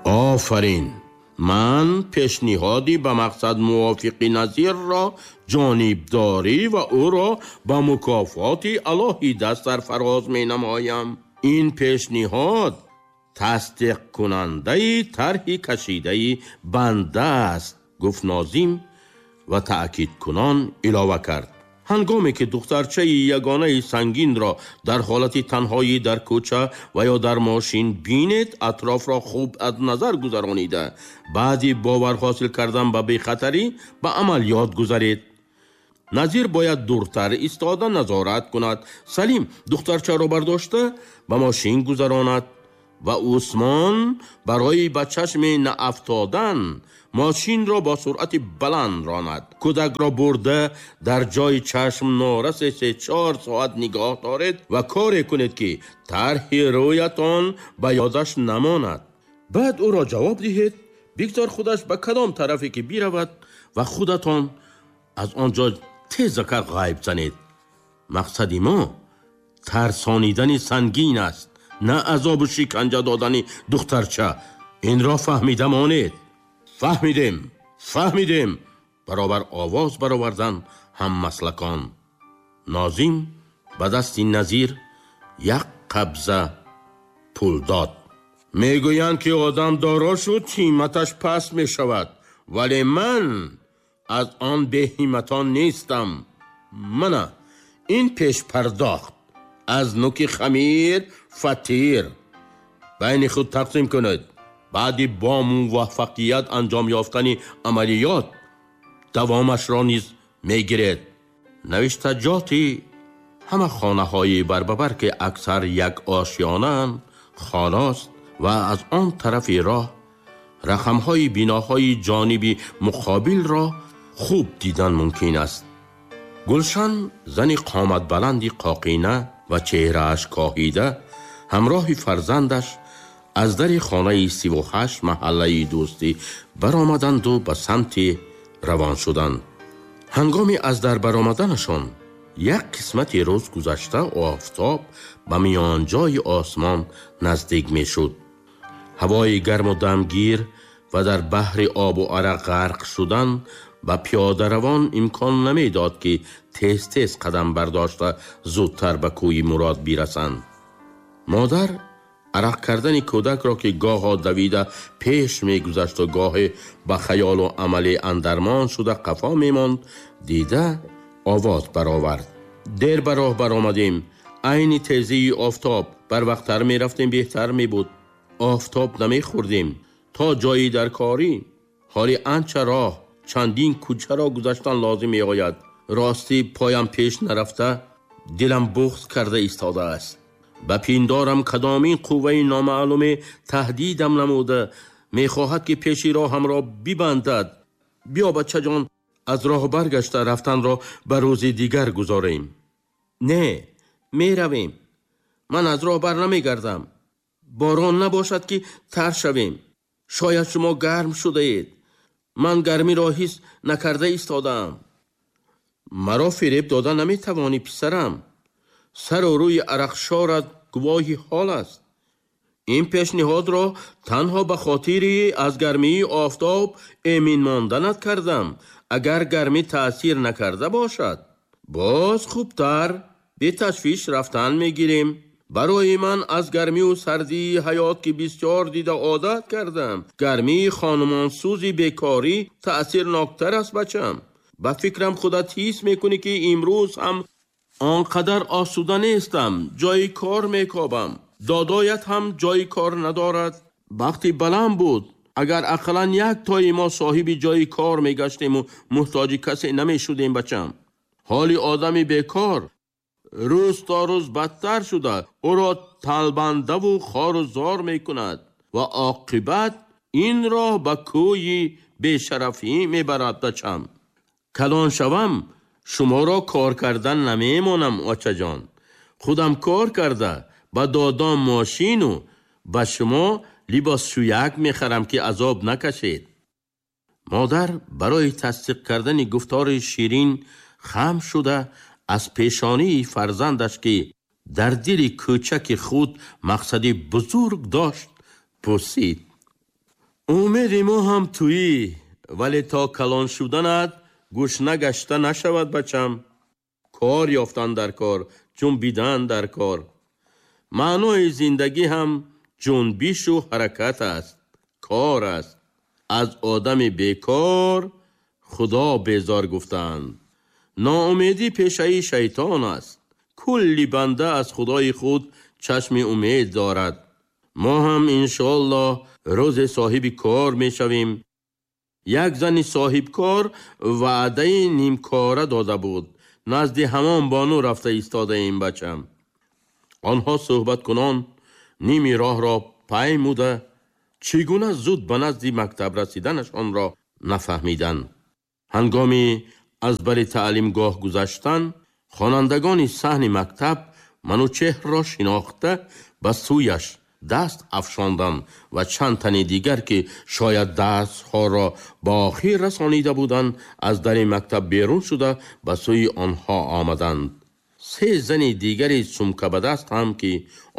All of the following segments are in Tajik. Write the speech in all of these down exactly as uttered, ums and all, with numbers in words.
Офарин! Ман пешниҳоди ба мақсад мувофиқи Назирро ҷонибдорӣ ва ӯро ба мукофоти алоҳида сарфароз менамоям. Ин пешниҳод тасдиқкунандаи тарҳи кашидаи банда аст, гуфт нозим ва таъкидкунон илова кард. Ҳангоме ки духтарчаи ягонаи сангинро дар ҳолати танҳоӣ дар кӯча ва ё дар мошин бинед, атрофро хуб аз назар гузаронида, баъди бовар ҳосил кардан ба бехатарӣ ба амалиёт гузаред. Назир бояд дуртар истода назорат кунад. Салим духтарчаро бардошта ба мошин гузаронад ва Усмон барои ба чашми наафтодан мошинро бо суръати баланд ронад. Кӯдакро бурда дар ҷои чашм норасе се-чор соат нигоҳ доред ва коре кунед, ки тарҳи рӯятон ба ёдаш намонад. Баъд ӯро ҷавоб диҳед, бигзор худаш ба кадом тарафе ки биравад ва худатон аз он ҷо тезакар ғайб занед. Мақсади мо тарсонидани сангин аст, на азобу шиканҷа додани духтарча. Инро фаҳмида монед. Фаҳмидем, фаҳмидем, баробар овоз баровардан ҳаммаслакон. Нозим ба дасти Назир як қабза пул дод. Мегӯянд, ки одам доро шуд, ҳимматаш паст мешавад, вале ман аз он беҳимматон нестам. Мана ин пешпардохт аз нуки хамир фатир. Байни худ тақсим кунед. Баъди бо муваффақият анҷом ёфтани амалиёт давомашро низ мегиред. Навиштаҷоти ҳама хонаҳои барбабар, ки аксар як ошёнаанд, хонаст ва аз он тарафи роҳ рақамҳои биноҳои ҷониби муқобилро хуб дидан мумкин аст. Гулшан, зани қоматбаланди қоқина ва чеҳрааш коҳида, ҳамроҳи фарзандаш аз дари хонаи сиву ҳашт маҳаллаи Дӯстӣ баромаданду ба самти равон шуданд. Ҳангоми аз дар баромаданашон як қисмати рӯз гузашта, офтоб ба миёнҷои осмон наздик мешуд. Ҳавои гарму дамгир ва дар баҳри обу арақ ғарқ шудан ба пиёдаравон имкон намедод, ки тез-тез қадам бардошта зудтар ба кӯи мурод бирасанд. Модар арақ кардани кӯдакро, ки гоҳо давида пеш мегузашту гоҳе ба хаёлу амале андармон шуда қафо мемонд, дида овоз баровард. Дер ба роҳ баромадем. Айни тезии офтоб барвақттар мерафтем, беҳтар мебуд. Офтоб намехӯрдем то ҷои даркорӣ. Ҳоли анча роҳ, чандин кӯчаро гузаштан лозим меояд. Ростӣ поям пеш нарафта, дилам буғз карда истодааст. Ба пиндорам кадомин қувваи номаълуме таҳдидам намуда, мехоҳад, ки пеши роҳамро бибандад. Биё, бачаҷон, аз роҳ баргашта рафтанро ба рӯзи дигар гузорем. Не, меравем. Ман аз роҳ бар намегардам. Борон набошад, ки тар шавем. Шояд шумо гарм шудаед. Ман гармиро ҳис накарда истодаам. Маро фиреб дода наметавонӣ, писарам. Сару рӯи арақшорат гувоҳи ҳол аст. Ин пешниҳодро танҳо ба хотири аз гармии офтоб эмин монданат кардам. Агар гармӣ таъсир накарда бошад, боз хубтар беташвиш рафтан мегирем. Барои ман аз гармию сардии ҳаёт, ки бисёр дида одат кардам, гармии хонумонсӯзи бекорӣ таъсирноктар аст, бачам. Ба фикрам, худат ҳис мекунӣ, ки имрӯз ҳам он қадар осуда нестам. Ҷои кор мекобам. Додоят ҳам ҷои кор надорад. Бахти баланд буд, агар ақаллан як тои мо соҳиби ҷои кор мегаштему муҳтоҷи касе намешудем, бачам. Ҳоли одами бекор рӯз то рӯз бадтар шуда, ӯро талбандаву хору зор мекунад ва оқибат ин роҳ ба кӯи бешарафӣ мебарад, бачам. Калон шавам, шуморо кор кардан намемонам, очаҷон. Худам кор карда ба додом мошину ба шумо либосшӯяк мехарам, ки азоб накашед. Модар барои тасдиқ кардани гуфтори ширин хам шуда, аз пешонии фарзандаш, ки дар дили кӯчаки худ мақсади бузург дошт, пурсид. Умеди мо ҳам туӣ, вале то калон шуданат гушна гашта нашавад бачам. Кор ёфтан дар кор, ҷунбидан дар кор. Маънои зиндагӣ ҳам ҷунбишу ҳаракат аст, кор аст. Аз одами бекор Худо безор гуфтаанд. Ноумедӣ пешаи шайтон аст. Кулли банда аз Худои худ чашми умед дорад. Мо ҳам иншоаллоҳ рӯзе соҳиби кор мешавем. Як зани соҳибкор ваъдаи нимкора дода буд. Назди ҳамон бону рафта истодаем бачам. Онҳо суҳбаткунон ними роҳро паймуда чӣ гуна зуд ба назди мактаб расиданашонро нафаҳмиданд. Ҳангоми аз бари таълимгоҳ гузаштан, хонандагони саҳни мактаб Манучеҳрро шинохта ба сӯяш даст афшонданд ва чанд тани дигар, ки шояд дастҳоро ба охир расонида буданд, аз дари мактаб берун шуда ба сӯи онҳо омаданд. Се зани дигари сумкабадаст ҳам, ки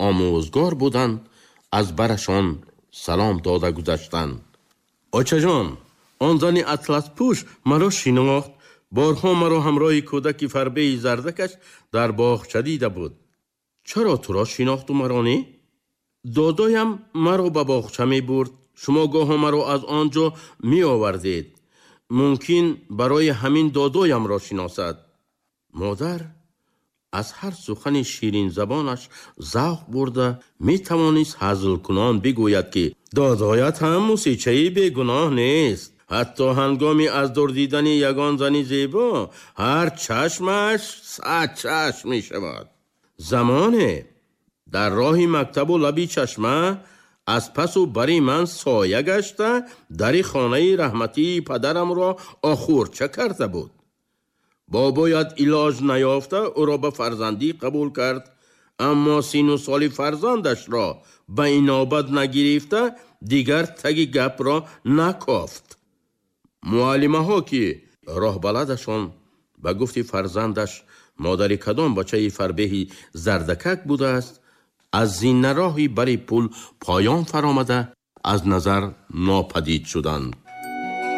омӯзгор буданд, аз барашон салом дода гузаштанд. Очаҷон, он зани атласпӯш маро шинохт. Борҳо маро ҳамроҳи кӯдаки фарбеи зардакаш дар боғча дида буд. Чаро туро шинохту маро не? Додоям маро ба боғча мебурд. Шумо гоҳо маро аз он ҷо меовардед. Мумкин барои ҳамин додоямро шиносад. Модар аз ҳар сухани ширинзабонаш завқ бурда метавонист ҳазлкунон бигӯяд, ки додоят ҳам мусичаи бегуноҳ нест. Ҳатто ҳангоми аз дур дидани ягон зани зебо ҳар чашмаш сад чашм мешавад. Замоне дар роҳи мактабу лаби чашма аз пасу бари ман соя гашта дари хонаи раҳматии падарамро охурча карда буд. Бобоят илоҷ наёфта ӯро ба фарзандӣ қабул кард, аммо сину соли фарзандашро ба инобат нагирифта дигар таги гапро накофт. Муаллимаҳо, ки роҳбаладашон ба гуфти фарзандаш модари кадом бачаи фарбеҳи зардакак будааст, аз зинароҳи бари пул поён фаромада аз назар нопадид шуданд.